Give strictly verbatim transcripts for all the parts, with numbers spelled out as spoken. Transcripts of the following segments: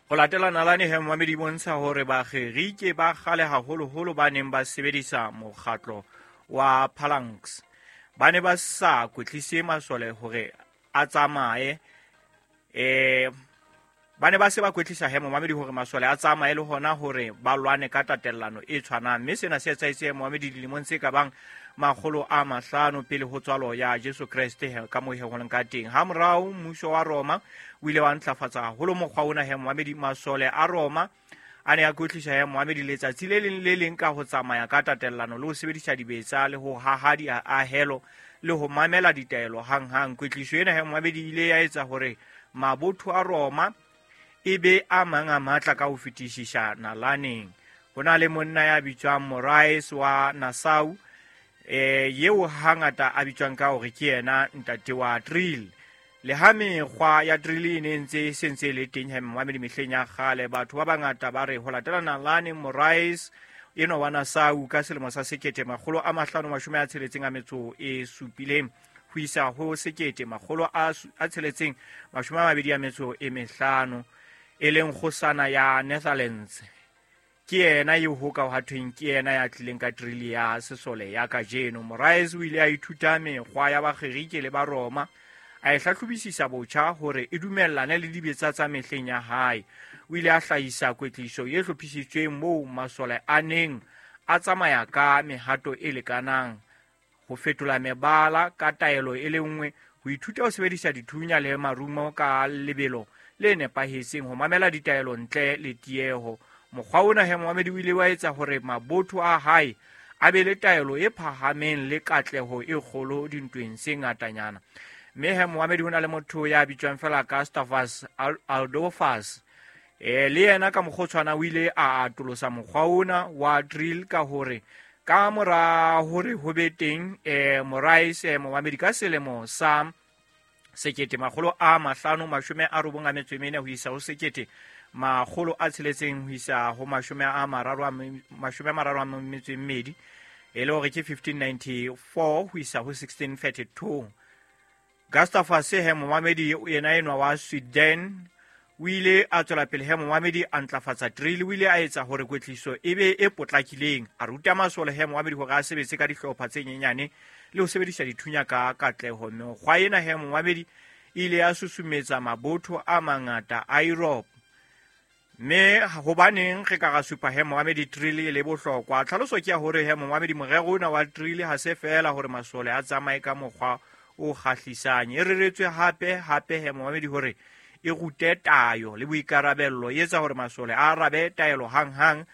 Ho latela nalane he momamedi bontsha hore Bagerike ba kgale haholoholo ba neng ba sebedisa mokgatlo wa phalanx ba ne ba sa kwetlise masole hore a tsamaye, eh ba ne ba se ba kwetlisa he momamedi hore masole a tsamaye le hona hore ba lwane ka tatellano e tshwanang, mme sena se etsahetse momamedi dilemong tse ka bang makgolo a mahlano pele ho tswalo ya Jesu Kreste ka moo he ho leng ka teng. Ha morao mmuso wa Roma o ile wa ntlafatsa haholo mokgwa ona he momamedi, masole a Roma a ne a kwetlisa he momamedi letsatsi le leng le leng ka ho tsamaya ka tatellano le ho sebedisa dibetsa le ho haha diahelo le ho mamela ditaelo hanghang. Kwetliso ena he momamedi ile ya etsa hore mabotho a Roma e be a mang a matla ka ho fetisisa nalaneng. Ho na le monna ya bitswang Moraes wa Nassau, eh yeo hangata a bitswang ka hore ke yena ntate wa drill. Le ha mekgwa ya drill e ne ntse e sentse le teng he momamedi mehleng ya kgale, batho ba bangata ba re ho latela nalane Moraes enwa wa Nassau ka selemo sa sekete makgolo a mahlano mashome a tsheletseng a metso e supileng ho isa ho sekete makgolo a tsheletseng mashome a mabedi a metso e mehlano, e leng kgosana ya Netherlands, ke yena eo ho ka ha thweng ke yena ya tlileng ka drill ya sesole ya kajeno. Moraes o ile a ithuta mekgwa ya Bagerike le ba Roma, a e hlahlobisisa botjha hore e dumellane le dibetsa tsa mehleng ya hae. O ile a hlahisa kwetliso e hlophisitsweng moo masole a neng a tsamaya ka mehato e lekanang, ho fetola mebala ka taelo e le nngwe, ho ithuta ho sebedisa dithunya le marumo ka lebelo le nepahetseng, ho mamela ditaelo ntle le tieho. Mokgwa ona he momamedi o ile wa etsa hore mabotho a hae a be le taelo e phahameng le katleho e kgolo dintweng tse ngatanyana. Mme he momamedi ho na le motho ya bitswang fela ka Gustavus Adolphus, eh le yena ka mokgotshwana o ile a atolosa mokgwa ona wa drill ka hore ka mora hore ho be teng eh Moraes momamedi ka selemo sa sekete makgolo a mahlano mashome a robong a metso e mene ho isa ho sekete makgolo a tsheletseng ho isa ho mashome a mararo a mashome a mararo a metso e mmedi, e le hore ke fifteen ninety-four ho isa ho sixteen thirty-two. Gustavus he momamedi yena enwa wa Sweden o ile a tswela pele he momamedi a ntlafatsa drill. O ile a etsa hore kwetliso e be e potlakileng, a ruta masole he momamedi hore a sebetse ka dihlopha tse nyenyane le ho sebedisa dithunya ka katleho. Mekgwa ena he momamedi e ile ya susumetsa mabotho a mangata a Europe. Mme hobaneng re ka ra supa he momamedi drill e le bohlokwa? Tlhaloso ke ya hore he momamedi morero ona wa drill ha se feela hore masole a tsamaye ka mokgwa o kgahlisang, e reretswe hape hape he momamedi hore e rute tayo le boikarabello, e etsa hore masole a arabe taelo hanghang,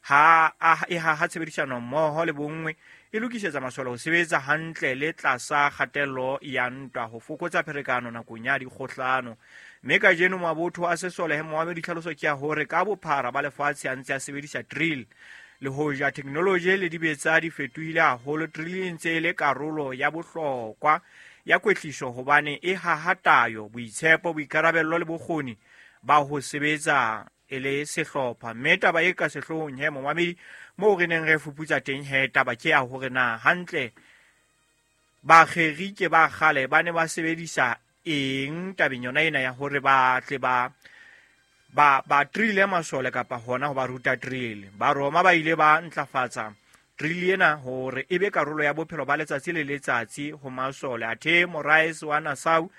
ha e haha tshebedisano mmoho le bonngwe, e lokisetsa masole ho sebetsa hantle le tlasa kgatello ya ntwa, ho fokotsa pherekano nakong ya dikgohlano. Mme kajeno mabotho a sesole he momamedi tlhaloso ke ya hore ka bophara ba lefatshe a ntse a sebedisa drill. Le hoja technology le dibetsa di fetohile haholo, drill e ntse e le karolo ya bohlokwa ya kwetliso hobane e haha tayo, boitshepo, boikarabello le bokgoni ba ho sebetsa e le sehlopha. Mme taba e ka sehloohong he momamedi moo re neng re fuputsa teng he taba ke ya hore na hantle Bagerike ba kgale ba ne ba sebedisa eng tabeng yona ena ya hore ba tle ba ba ba drille masole kapa hona ho ba ruta drill. Ba Roma ba ile ba ntlafatsa drill ena hore e be karolo ya bophelo ba letsatsi le letsatsi ho masole. Athe Moraes wa Nassau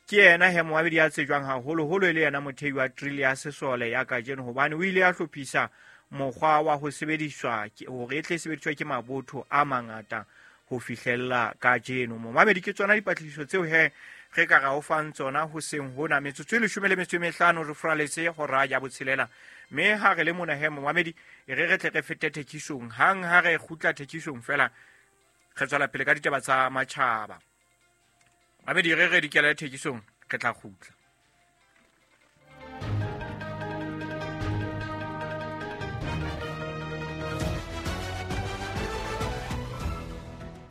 ke yena he momamedi ya tsejwang haholoholo e le yena mothei wa drill ya sesole ya kajeno, hobane o ile a hlophisa mokgwa wa ho sebediswa hore e tle sebediswa ke mabotho a mangata ho fihlella kajeno. Momamedi ke tsona dipatlisiso tseo he re ka ra o fang tsona hoseng hona. Metsotso e leshome le metso e mehlano re furaletse hora ya botshelela, mme ha re le mona he momamedi e re re tle re fete thekisong. Hang ha re kgutla thekisong fela re tswela pele ka ditaba tsa matjhaba. Mamedi re re dikela thekisong, re tla kgutla.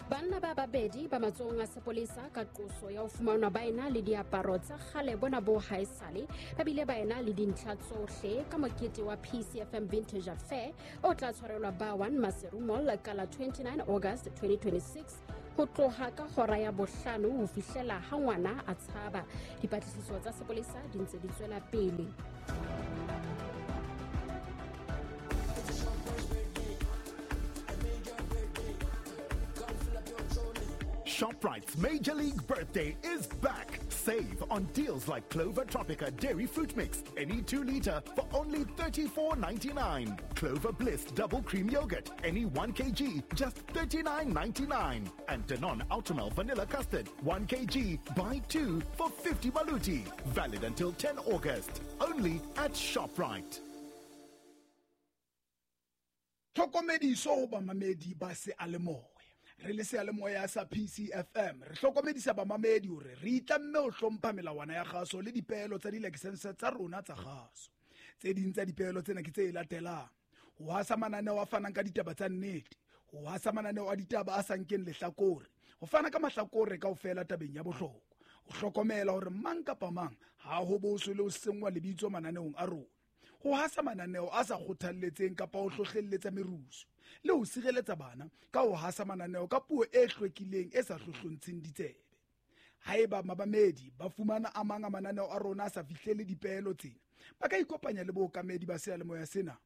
Banna ba babedi ba matsohong a sepolesa ka qoso ya ho fumanwa ba ena le diaparo tsa kgale bona bo haesale, ba bile ba ena le dintlha tsohle ka mokete wa P C F M Vintage Affair o tla tshwarelwa ba one Maseru Mall ka la twenty-nine August twenty twenty-six ho tloha ka hora ya bohlano ho fihlela ha ngwana a tshaba. Dipatlisiso tsa sepolesa di ntse di tswela pele. ShopRite's Major League Birthday is back. Save on deals like Clover Tropica Dairy Fruit Mix, any two liter for only thirty-four ninety-nine. Clover Bliss Double Cream Yogurt, any one kilogram, just thirty-nine ninety-nine. And Danone Ultramel Vanilla Custard, one kilogram, buy two for fifty baluti. Valid until tenth August. Only at ShopRite. Tlhokomediso ho bamamedi ba seyalemoya. Re le seyalemoya sa P C F M, re hlokomedisa bamamedi hore re itlamme ho hlompha melawana ya kgaso le dipeelo tsa dilakesense tsa rona tsa kgaso. Tse ding tsa dipeelo tsena ke tse latelang: ho hasa mananeo a fanang ka ditaba tsa nnete, ho hasa mananeo a ditaba a sa nkeng lehlakore, ho fana ka mahlakore kaofela tabeng ya bohlokwa, ho hlokomela hore mang kapa mang ha ho boswe le ho senngwa lebitso mananeong a rona, ho hasa mananeo a sa kgothalletseng kapa ho hlohlelletsa merusu, le ho sireletsa bana ka ho hasa mananeo ka puo e hlwekileng e sa hlohlontsheng ditsebe. Haeba mabamedi ba fumana a mang a mananeo a rona a sa fihlele dipeelo tsena, ba ka ikopanya le bookamedi ba seyalemoya sena.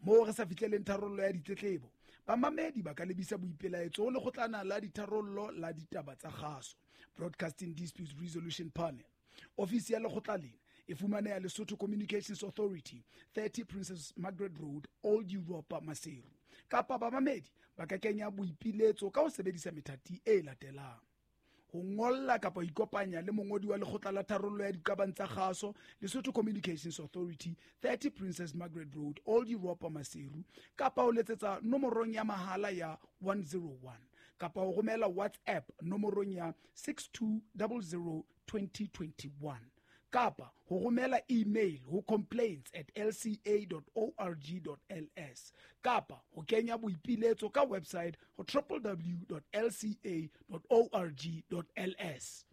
Moo re sa fihleleng tharollo ya ditletlebo, bamamedi ba ka lebisa boipelaetso ho lekgotlana la ditharollo la ditaba tsa kgaso, Broadcasting Disputes Resolution Panel. Ofisi ya lekgotla lena e fumaneha Lesotho Communications Authority, thirty Princess Margaret Road, Old Europa, Maseru. Kapa bamamedi ba ka kenya boipiletso ka ho sebedisa methati e latelang: ho ngolla kapa ho ikopanya le mongodi wa lekgotla la tharollo ya diqabang tsa kgaso, Lesotho Communications Authority, thirty Princess Margaret Road, Old Europa, Maseru, kapa ho letsetsa nomorong ya mahala ya one zero one, kapa ho romela WhatsApp nomorong ya six two zero zero twenty twenty-one, kapa ho romela email ho complaints at l c a dot org dot l s, kapa ho kenya boipiletso ka website ho w w w dot l c a dot org dot l s.